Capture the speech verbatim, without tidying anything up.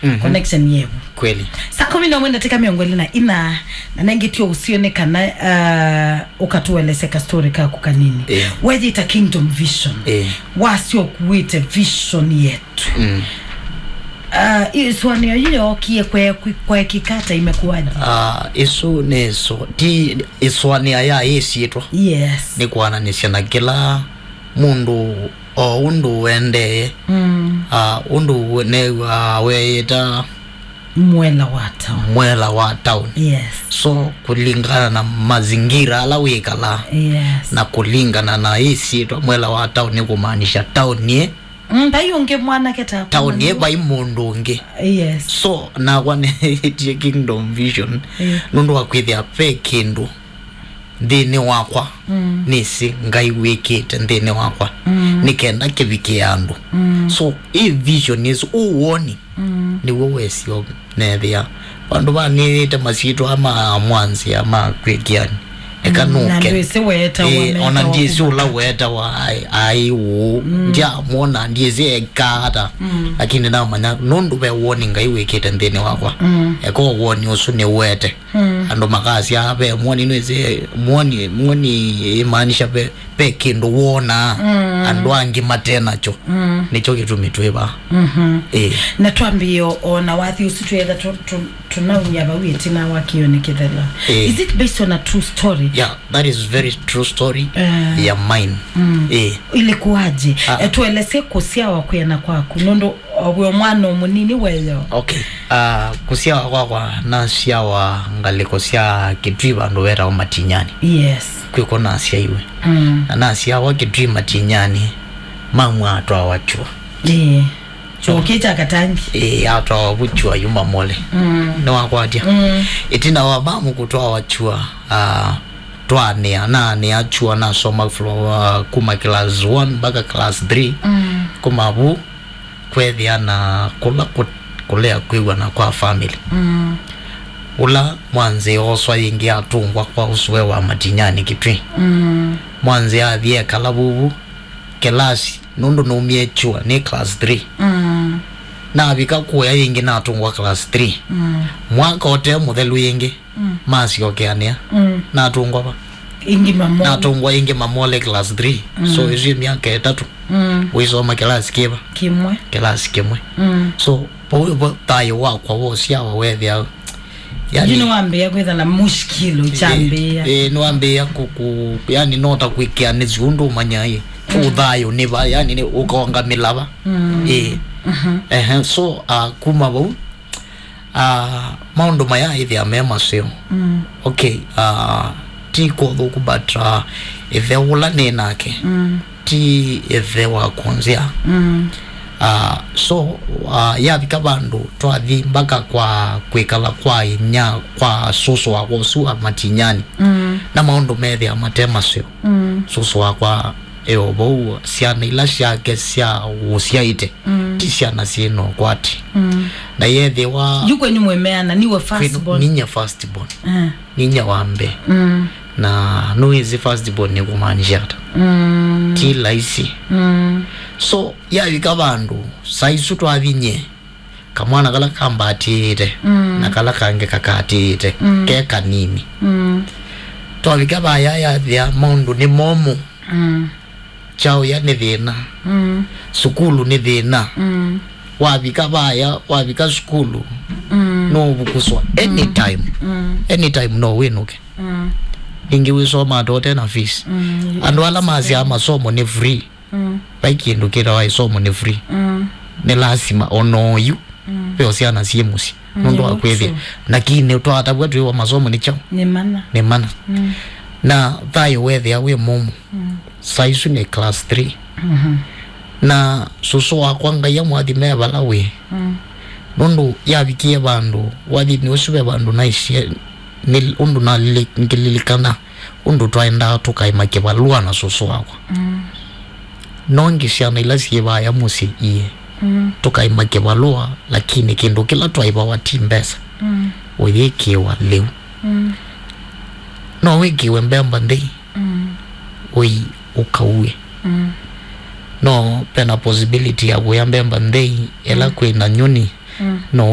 Mhm. Connection yevu. Kweli. Saa kumi na ũmwe na ndatĩka mĩongo ĩlĩ na ina, na nengĩ tio ũsio nĩ kana, uh, ũkatũelesya ka story kaku kanini. Yeah. Weyĩta Kingdom Vision. Yeah. Wasyo kuĩte vision yetu. Mm. Uh, ĩsũanĩo yĩyo yookie kwe-, kwe-, kwekĩka ata, imekuwaje? Ah, ĩsu nĩ ĩsu, ti ĩsũanĩa ya ĩsyĩtwa. Yes. Nĩ kwananĩsya na kĩla mũndũ o ũndũ ũendee. Mm. Ah, ũndũ we-, new'aa weyĩta Mwela wa town. Mwela wa town. Yes. So, kũlingana na mazingira ala wĩkalaa, yes, na kũlingana na ĩsyĩtwa Mwela wa town nĩ kũmaanisha town ĩ. Mm, vai ũngĩ mwanake ta town ĩ, vai mũndũ ũngĩ. Yes. So, nakwa nĩtie Kingdom Vision, eh, nũndũ wa kwĩthĩa ve kĩndũ nthĩnĩ wakwa, mm, nĩsĩ Ngai wĩkĩte nthĩnĩ wakwa, mm, nĩ kenda kĩvikĩe andũ. Mm. So, ĩ vision ĩsu, ũwoni, mm, nĩw'o wesio nethĩa. Vandũ va nĩĩte masyĩtwa ma mwanzĩa ma kwĩkĩani. Eka, mm, na nũke. Ndwĩsĩ weetawa, eh, ona meetawa ndyĩsĩ kuma ũla kati. Weetawa ai-, ai ũũ. Mm. Ndyamwona, ndyĩsĩ ekaa ata. Mm. Lakini namanya, nũndũ ve woni Ngai wĩkĩte nthĩnĩ wakwa. Mm. Eka woni ũsu nĩwete. Mm. Andũ makasya, "Ve mwoni, nĩsĩ mwoni, mwoni ĩmaanisha ve, ve kĩndũ wonaa, mm, andũ angĩ mate nakyo." Mm. Nĩkyo kĩtumi twĩ vaa. Mhm. Ĩĩ. Na twambĩĩe o na wathi ũsu twĩetha tũ-, tũ-, tũnaumya vau ĩtina wa kĩonĩ kĩthela. Ĩĩ. Is it based on a true story? Yeah, that is very true story, eh, ya mine. Mm. Ĩĩ. Ilikuwaje? Ah. Eh, tueleze kũsyawa kwĩana kwaku, nũndũ o wĩ o mwana o mũnini weyo. Okay. Ah, kũsyawa kwakwa, nasyawa ngalĩko sya Kitui vandũ vetawa Matinyani. Yes. Kwĩko nasyaiwe. Mm. Na nasyawa Kitui Matinyani, mamu atwawa Kyua. Ĩĩ. Kyũkĩ kya Katangi. Ĩĩ, atwawa vu Kyua yu Mamole. Mm. Nĩwakwatya. Mm. Ĩtina wa mamu kũtwawa Kyua, ah, twaanĩa, naanĩa Kyua, nasoma from, ah, kuma class one mpaka class three. Mm. Kuma vu, kwethĩa na kũla kũ-, kũlea kwĩw'ana kwa family. Mm. Ũla mwanzĩ ooswa yĩngĩ atũngwa kwa ũsũe wa Matinyani Kitui. Mm. Mwanzĩ athi ekala vuvu, kelasi, nũndũ naumie Kyua nĩ class three. Mm. Navika kũya yĩngĩ natũngwa class three. Mm. Mwaka ũte mũthelu yĩngĩ, mm, masyokeanĩa. Mm. Natũngwa va? Ĩngĩ Mamole. Natũngwa ĩngĩ Mamole class three. Mm. So, ĩsu myaka ĩtatũ. Mm. Wĩsoma kĩlasi kĩva? Kĩmwe. Kĩlasi kĩmwe. Mm. So, vau vo thayũ wakwa wosyawa wethĩa, yani, yu nĩwambĩĩa kwĩtha na mushkilo, ĩĩ, kyambĩĩa. Ĩĩ, nĩwambĩĩa kũ-, kũ-, yani, no ta kwĩkĩa nĩ syũndũ ũmanya, ĩĩ, mm, ũthayũ nĩ va, yani, nĩ ũkonga mĩlava. Mm. Ĩĩ. Mhm. Ehe, so, ah, kuma vau, ah, maũndũ maya ĩthĩa me maseo. Mm. Okay, ah, ti kwa ũthũku, but, ah, ĩthe ũla nĩ nake, mm, ti ĩthe wa kũnzĩa. Mm. Ah, so, ah, yavika vandũ twathi mpaka kwa kwĩkala kwa inya, kwa sũsũ wakwa ũsu wa Matinyani. Mm. Na maũndũ methĩa mate maseo. Mm. Sũsũ wakwa e o vau, syana ila syake sya ũsyaĩte, mm, ti syana syĩ na ũkwati. Mm. Na yethĩwa yu kwenyu mwĩmeana, niwe first born? Ninya first born. Eh. Ninya wa mbee. Mm. Na nũĩsĩ first born nĩ kũmaanisha ata? Mm. Ti laisi. Mm. So, yavika vandũ, saa isu twathi nyie, kamwana kala kambatĩĩte, mm, na kala kangĩ kakatĩĩte, mm, ke kanini. Mm. Twavika vaya yathĩa maũndũ nĩ momũ. Mm. Kyaũya nĩ thĩna. Mm. Sukulu nĩ thĩna. Mm. Wavika vaya, wavika sukulu, mm, no ũvukuswa. Mm. Anytime. Mm. Anytime no wĩnũke. Mm. Ĩngĩ wĩsomaa tũte na fees. Mm. Andũ ala masyaa masomo nĩ free. Mm. Vai kĩndũ kĩtawa ĩsomo nĩ free. Mm. Nĩ lasima o na oyu, mm, ve o syana syĩ mũsyĩ. Mm, nũndũ wa kwĩthĩa. True. Lakini twatavw'a twĩwa masomo nĩ kyaũ? Nĩ mana. Nĩ mana. Mm. Na thayũ wethĩa wĩ mũmũ. Mm. Saa isu nĩ class three. Mhm. Na sũsũ wakwa Ngai amũathime vala wĩ. Mm. Nũndũ yavikie vandũ, wathinĩ ũsu ve vandũ naisye, nĩ ũndũ nalili-, ngĩlilikana ũndũ twaendaa tũkaĩma kĩvalũa na sũsũ wakwa. Mm. No ngĩ syana ila syĩ vaya mũsyĩ iĩ, mm, tũkaĩma kĩvalũa, lakini kĩndũ kĩla twaĩvawa ti mbesa. Mm. Ũyĩkĩwa lĩu. Mm. No wĩkĩwe mbemba nthei, mm, ũi ũkaue. Mm. No pena possibility ya kũya mbemba nthei ĩla, mm, kwĩna nyũni, No